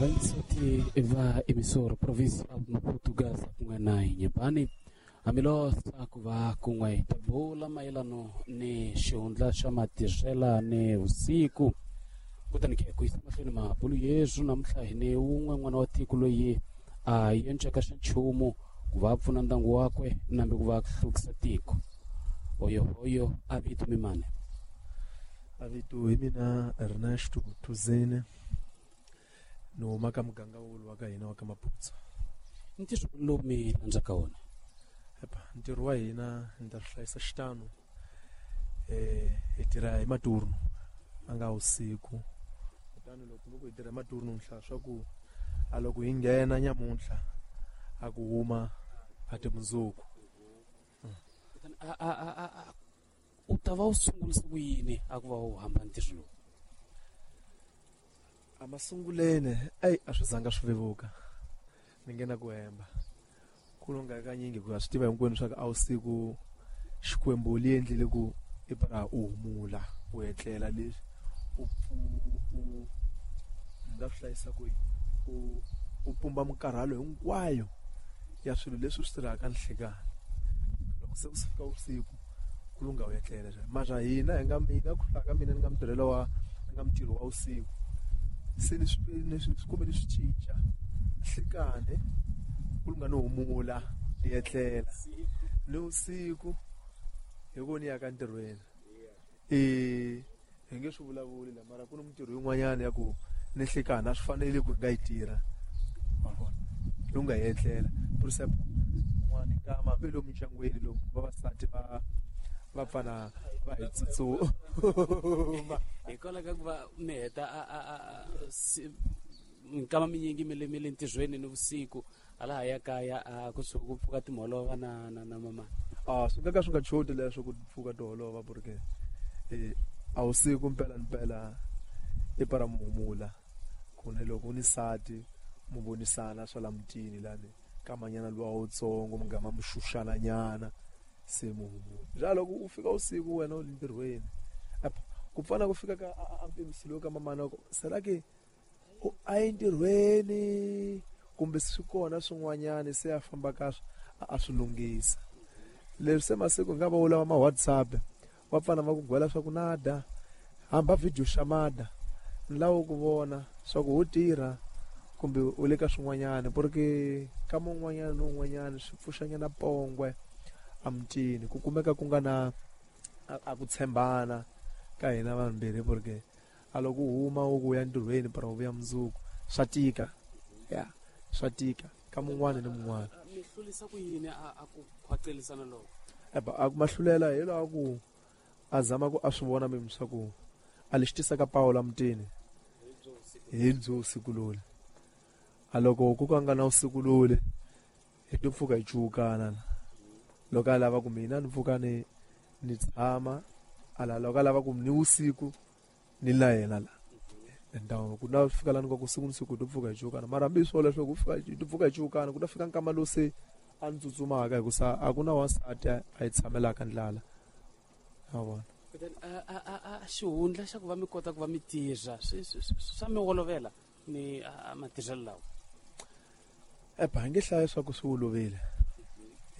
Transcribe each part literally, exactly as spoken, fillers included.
Vaisoti va emissora província Maputo Gaza kun'we na Inhambane hambiloko ku va kun'we tabula mayelano ni xihundla xa matirhela ni vusiku kutani ke ku yisa mahlweni mabulu yesu namuntlha hi ni wun'we n'wana wa tiko loyi a yenceka xa nchumu ku va pfuna ndyangu wakwe nambe ku va hlukisa tiko oyo oyo a vito mimane a vito hi mina Ernesto Tuzene no huma ka muganga wulu wa ka hina wa ka Maputo. Ntirho lowu mi landzaka wona? Epa, ntirho wa hina ni ta swi hlayisa xitano eh hi tirha hi maturno a nga usiku kutani loko loko hi tirha hi maturno mhla swa ku a loko hi nghena nyamuntlha a ku huma a ti mundzuku. Kutani a a a a u ta va u sungulisa ku yini a ku va u hamba ntirho lowu? A masunguleni ayi a swi zanga swi vevuka ni nge na ku hemba ku lunga kanyingi ku swi tiva hinkwenu swa ku a wusiku Xikwembu li endlile ku i para u humula u etlela leswi u u nga swi hlayisa ku u u pumba minkarhalo hinkwayo ya swilo leswi swi tirhaka nhlekani loko se ku fika usiku ku lunga u etlela mara hina hi nga mina ku hlaka mina ni nga mutirhelo wa ni nga mutirhi wa usiku se ni swi ni swi kumbe ni swi cinca nhlekani ku lunga no humula ni etlela ni usiku hi ku ni ya ka ntirhweni eh hi nge swi vulavuli la mara ku ni mintirho yin'wanyana ya ku ni nhlekani a swi fanele ku hi nga yi tirha wa vona lunga hi etlela for n'wana nkama hambi lomu ndyangwini lomu vavasati va va pfana va hi tsutsuma hikwalaho ka ku va mi heta a a a minkama minyingi mi le mi le ntirhweni ni vusiku hala ya kaya a ku suka ku pfuka timholova na na na mama a swi nga ka swi nga choti leswo ku pfuka tiholova porque eh a wusiku mpela mpela i para muhumula ku ne loko ni sati mu vonisana swa la mutini lani kamanyana luwa wutsongo mugama mu xuxana nyana se muhumula bya loko u fika usiku wena u le ntirhweni ku pfana ku fika ka a mpimisilo ka mamana ku sera ke u a entirhweni kumbe swi kona swin'wanyana se a famba ka a swi lunghisa leswi se masiku nga va u lava ma WhatsApp va pfana va ku gwela swa ku nada hamba video xamada ni lawa ku vona swa ku u tirha kumbe u le ka swin'wanyana porque ka mun'wanyana ni un'wanyana swi pfuxanyana pongwe amutini ku kumeka ku nga na a ku tshembana ka hina vambirhi porque a loko u huma u ku ya ntirhweni para u vuya mundzuku swa tika ya swa tika ka mun'wana ni mun'wana mi hlurisa ku yini a ku khwacelisana loko eba a ku mahlulela hi laha ku a zama ku a swi vona mimi swa ku a lexi tisaka Paul mutini hi byo usiku lole a loko ku ka nga na usiku lole hi to pfuka hi cukana loko a lava ku mina ni pfuka ni ni tshama ala loko a lava ku ni usiku ni la yena la ndhawu ku na fika lani ku siku ni siku to pfuka hi cukana mara hambi swo leswo ku fika to pfuka hi cukana ku ta fika nkama lowu se a ni tsutsumaka hi ku sa a ku na wansati a yi tshamelaka ndlala a vona kutani a a a xihundla xa ku va mi kota ku va mi tirha swi swa mi olovela ni matirhelo lawa epa hi nge hlaya swa ku swi olovile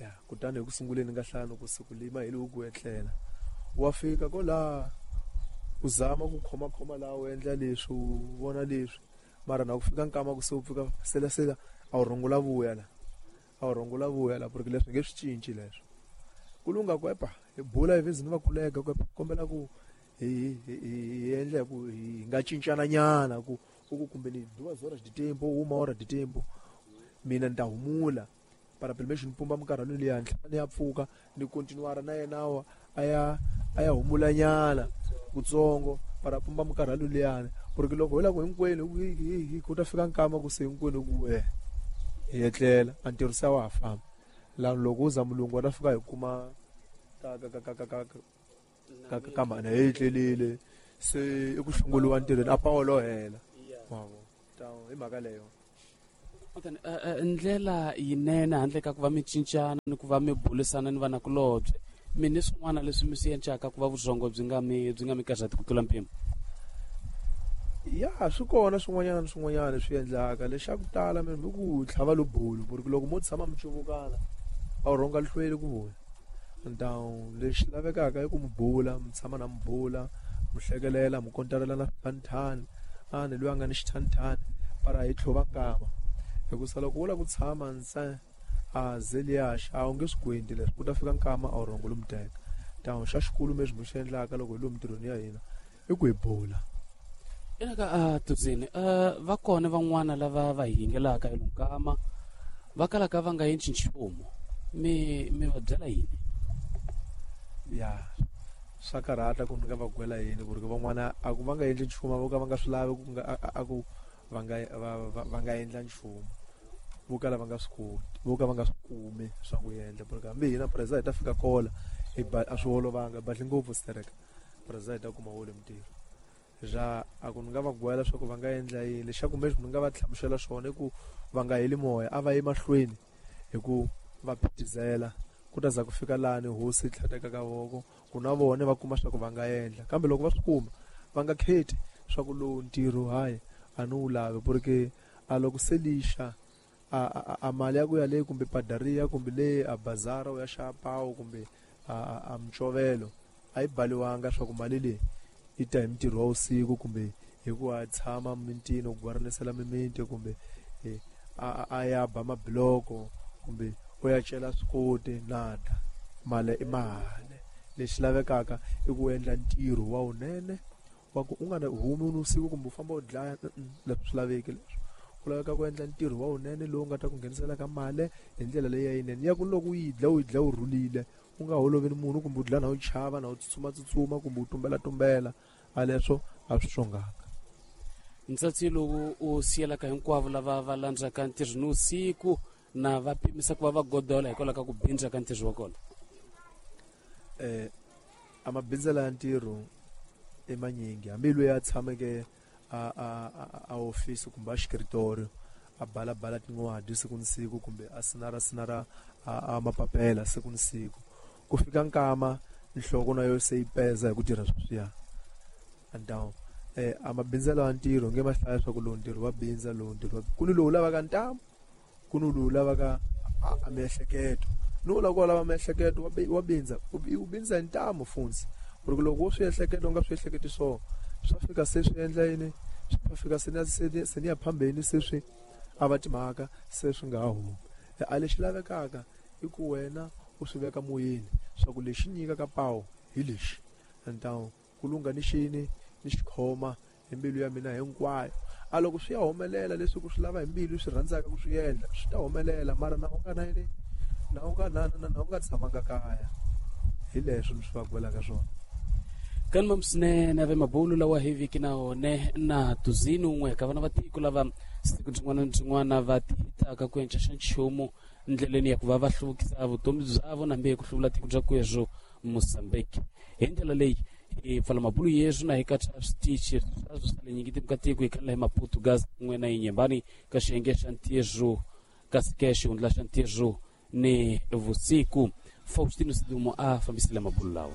ya kutani hi ku sunguleni nga hlaya ku siku lima hi loko ku etlela wa fika ko laha u zama ku khoma khoma laha u endla leswi u vona leswi mara na ku fika nkama ku se u pfuka sela sela a wu rhungula vuya la a wu rhungula vuya la porque leswi nge swi cinci leswo ku lunga ku epa hi bula hi vhezi ni va kulega ku epa kombela ku hi hi endla ku hi nga cincana nyana ku u ku kumbe ni duas horas de tempo uma hora de tempo mina ni ta humula para pelo menos ni pumba minkarhalo liya ni ni ya pfuka ni continuara na yena wa a ya a ya humula nyana kutsongo para pumba minkarhalo liyani porque loko hi la ku hinkwenu hi ku ta fika nkama ku se hinkwenu ku eh hi etlela a ntirho se wa ha famba laha loko u za mulungu wa ta fika hi kuma ka ka ka ka ka ka ka ka mhana hi etlelile se i ku hlongoliwa ntirhweni a Paolo hela wa vona hi mhaka leyo kutani ndlela yinene handle ka ku va mi cincana ni ku va mi bulisana ni vanakulobye mi ni swin'wana leswi mi swi encaka ku va vurhongo byi nga mi byi nga mi karhati ku tlula mpimo Ya swi kona swin'wanyana swin'wanyana swi endlaka lexaku tala mi ku tlhava lobulu ku ri loko mo tshama mi cuvukana a wu rhonga hlweli ku vuya. Down lexi lavekaka i ku mi bula mi tshama na mi bula mi hlekelela mi kontarela na swithanithani a ni loyi a nga ni xithanithani para hi tlhova nkama hikusa loko wo lava ku tshama ntsena a zeliyaxa a wu nge swi kwenti leswi ku ta fika nkama a wu rhongo lomu teka. Down xa xikulu leswi mi xi endlaka loko hi lomu ntirhweni ya hina i ku hi bula. Ina ka Tudzini va kona van'wana lava va hi yingelaka hi lonkama va kalaka va nga endli nchumu mi mi va byela yini? Ya swa karhata ku ni nga va gwela yini ku ri van'wana a ku va nga endli nchumu vo ka va nga swi lavi ku nga a ku va nga va nga endla nchumu vo kala va nga swi koti vo ka va nga swi kumi swa ku endla ku ri hambi hina preza hi ta fika kola hi ba a swi olovanga badli ngopfu stereka preza hi ta kuma wole mintirho ra a ku ni nga va gwela swa ku va nga endla yini lexaku leswi ni nga va hlamusela swona i ku va nga heli moya a va yi mahlweni hi ku va phitizela ku ta za ku fika lani hosi yi tlhateka ka voko ku na vona va kuma swa ku va nga endla kambe loko va swi kuma va nga kheti swa ku lowu ntirho hayi a ni wu lavi ku ri ke a loko se lixa a a a mali ya ku ya leyi kumbe padariya kumbe leyi a bazara u ya xava pawu kumbe a a micovelo a yi baliwanga swa ku mali leyi yi ta hi mintirho wa vusiku kumbe hi ku a tshama mintini u gwarinisela mimiti kumbe a a ya ba mabiloko kumbe u ya cela swikoti nada mali i mali lexi lavekaka i ku endla ntirho wa wunene wa ku u nga humi ni usiku kumbe u famba u dlaya leswi swi laveki leswi ku laveka ku endla ntirho wa wunene lowu nga ta ku nghenisela ka mali hi ndlela leyi ya yinene ya ku loko u yi dla u yi dla u rhulile u nga holovi ni munhu kumbe u dlaya na u chava na u tsutsuma tsutsuma kumbe u tumbela tumbela a leswo a swi xonganga. Ntsatsi lowu u siyelaka hinkwavo lava va landzaka ntirho ni usiku na va pimisa ku va va godola hikwalaho ka ku bindza ka ntirho wa kona. Eh a mabindzela ya ntirho i manyingi hambi loyi a tshameke a a a office kumbe a xikritori a bala bala tin'wadi siku ni siku kumbe a sinara sinara a mapapela siku ni siku ku fika nkama nhloko na yo se yi peza hi ku tirha sweswiya. And eh a mabindzela ya ntirho nge ma hlaya swa ku lowu ntirho wa bindza lowu ntirho wa ku ni lowu lavaka ntamu ku ni lowu lavaka a miehleketo ni wu lava ku lava miehleketo wa bindza u bindza hi ntamu funtsi ku ri loko wo swi ehleketa u nga swi ehleketi swona swa fika se swi endla yini swa fika se ni se ni ya phambeni se swi a va timhaka se swi nga ha humi. A lexi lavekaka i ku wena u swi veka moyeni swa ku lexi nyikaka pawu hi lexi ntamu ku lungha ni xini ni xikhoma hi mbilu ya mina hinkwayo a loko swi ya humelela leswi ku swi lava hi mbilu swi rhandzaka ku swi endla swi ta humelela mara na u nga na yini na u nga na na na u nga tshamanga kaya hi leswo ni swi va gwelaka swona. Kani mamsinene ave mabulu lawa hi viki na one na tuzini un'we ka vana va tiko lava siku byin'wana na byin'wana va tihitaka ku enca xa nchumu ndleleni ya ku va va hluvukisa vutomi byavo nambe ku hluvula tiko bya kwezwo Mozambique. Hi ndlela leyi hi pfala mabulu yeswo na hi katsa switichi swa swa le nyingi ka tiko hi khala hi Maputo gas kun'we na Inhambane ka xiyenge xa ntirho kasi ke xihundla xa ntirho ni vusiku. Faustino Sidumo a fambisile mabulu lawa.